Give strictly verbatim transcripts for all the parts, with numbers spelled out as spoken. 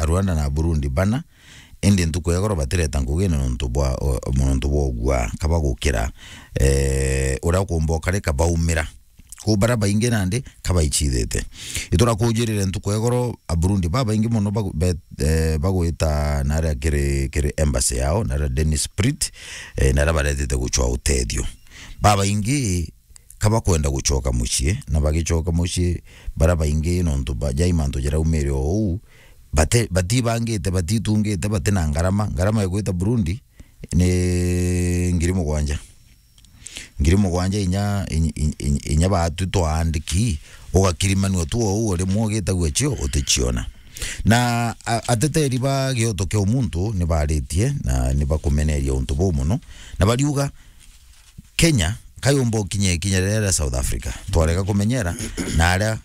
Rwanda na Burundi bana, indi ntuku ya igoro batireta ngugi ni nontu bwa, o, nontu bwa ugua kaba gukira, eh, uria ukumba ukarika baumira. Ku bara baingi nandi kabaichithite. Itura kujirire ntuku ya igoro, Aburundi babaingi mono bagu-, be-, eh, bagwita naria kiri, kiri embassy yao, naria Dennis Prit, eh, naria baretete guchwa utethio. Babaingi kabakwenda guchoka mucii, na bagichoka mucii, bara baingi nontu ba, jai mantu jaraumire o uu, bate-, batibangite, batitungite, batina ngarama. Ngarama ya gwita Burundi ni ngiri mugwanja. Ngiri mugwanja inya, inya, inya, inya batu twaandiki, ugakirimanua tu o uu, rimwe ugitagua cio, utichiona. Na a-, ateteri ba gioto kia umuntu ni baritie na ni bakumeneria untu buu mono, na bariuga, Kenya kayumba ukinya ikinya riria ria South Africa, twarega kumenyera na aria,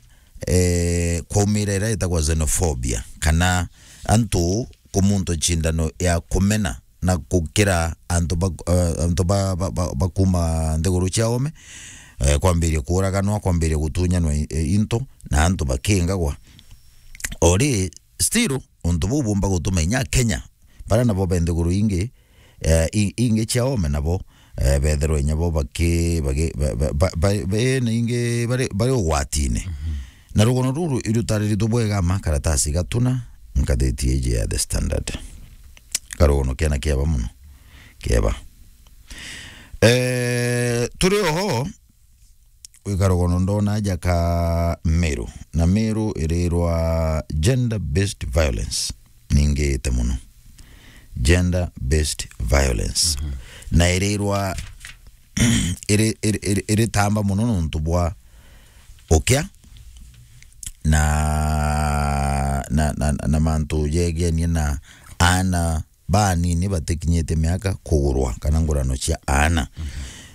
eh, kwaumira iria itagwa xenophobia, kana antu kumuntu cindano ya kumena na gukira antu ba, eh, antu ba, ba, ba, ba kuma nthiguru cia ome, eh, kwambiria kuuraganwa, kwambiria gutunyanwa i-, i-, into, na antu bakingagwa. Ori, still, untu buu bumba gutuma inya Kenya, bara nabo be nthiguru ingi, eh, i-, ingi cia ome nabo, eh, bethirwa inya bo baki-, bagi-, ba-, ba-, ba-, ba-, be na ingi bari, bari ugwatine. Mhm. Na rugono ruru irutariritwe bwega ma karatasi gatuna, ngathiti iji ya The Standard. Karugono kena kieba mono. Kieba. Eh, turi oho, wi karugono ndona aja ka Meru. Na Meru irirwa gender-based violence. Ningite mono. Gender-based violence. Mhm. Na irirwa iri, iri, iri, iritamba mono nontu bwa ukia na, na, na, na mantu jegenie na aana banini batikinyite miaka kugurwa kana ngurano cia aana. Mhm.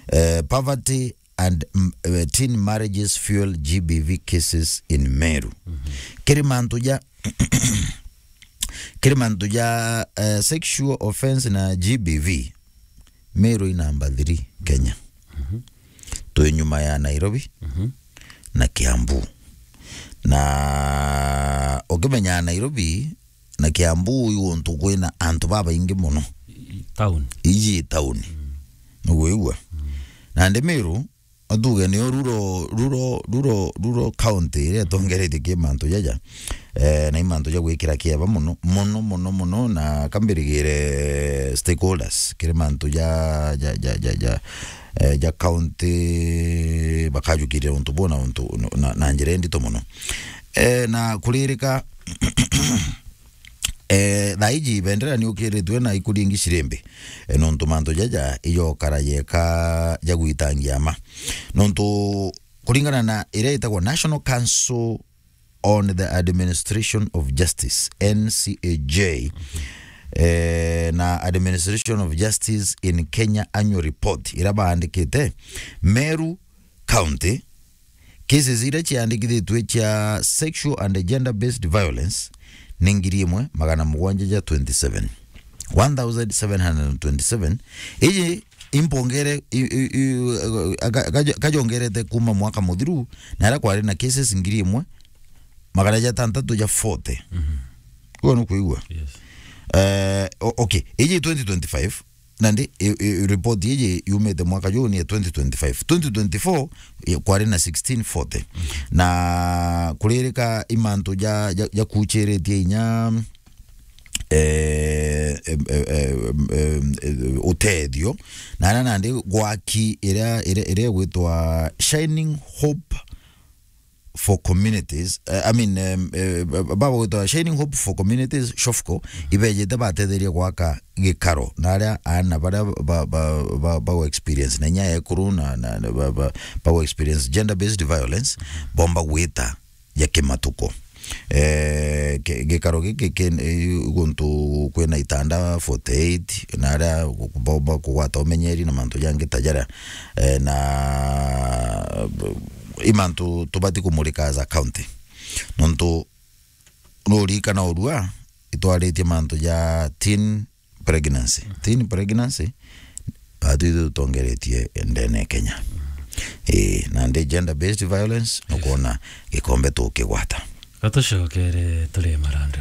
Eh, poverty and, mm, eh, teen marriages fuel G B V cases in Meru. Mhm. Kiri mantu ja, kiri mantu ja, eh, sexual offense na G B V, Meru i namba three Kenya. Mhm. Twi nyuma ya Nairobi, mhm, na Kiambu. Na ukimenya Nairobi na Kiambu i guntu kwina antu babaingi mono. I-, i-, town. Iji i town. Mm. Niguigua? Mm. Nandi Meru, atuge niyo rural, rural, rural, rural county iria itongeretie ki mantu jaja. Eh, na i mantu ja gwikira kieba mono, mono, mono, mono, na kambirigire stakeholders, kiri mantu ja, ja, ja, ja, ja, eh, ja county, bakajukiria untu buu na untu, na, na njira indito mono. Eh, na kuririka, eh, thaa iji bendera ni ukiritwe na ikuri ingi cirimbi. Eh, nontu mantu jaja ijokara yeka ja gwitangia ma. Nontu kuringana na iria itagwa National Council on the Administration of Justice, N C A J, eh, na Administration of Justice in Kenya Annual Report, iria baandikite, Meru County, cases iria ciandikithitwe cia sexual and gender-based violence ni ngiri imwe magana mugwanja ja twenty-seven. One thousand seven hundred and twenty-seven. Iji impongere, i, i, i, ka-, ka-, kajongerete kuma mwaka muthiru, na aria kwari na cases ngiri imwe magana jatantatu ja forty. Mhm. Uguo ni kuigua? Yes. Eh, o-, okay, iji twenty twenty-five, nandi, i, i, report iji yumite mwaka juu ni ya twenty twenty-five. Twenty twenty-four, i, kwari na sixteen forty. Mhm. Na kuririka i mantu ja, ja, jakuchiritie inya, eh, em, em, em, em, eh, utethio. Na aria nandi gwaki iria, iria, iria igwitwa Shining Hope for Communities, eh, I mean, em, eh, ba-, bagwitwa Shining Hope for Communities, SHOFCO, ibejete batetheria gwaka gikaro. Na aria aana baria ba, ba, ba, ba, ba experience na inya ekuru na, na, na ba, ba, ba experience gender-based violence, bomba gwita ja kimatuko. Eh, ki-, gikaro giki ki-, eh, guntu kwina itanda forty-eight, na aria gu-, bomba kugwata umenyeri na mantu jangi ta jaria. Eh, na, i mantu tubati kumurika as a county. Nontu nuririkana urua itwaritie mantu ja teen pregnancy. Mhm. Teen pregnancy, batu ithu tutongeretie ndene ya Kenya. Mhm. Ii, nandi gender-based violence, yes, nukwona gikombe tukigwata. Gatucokere turi marandu.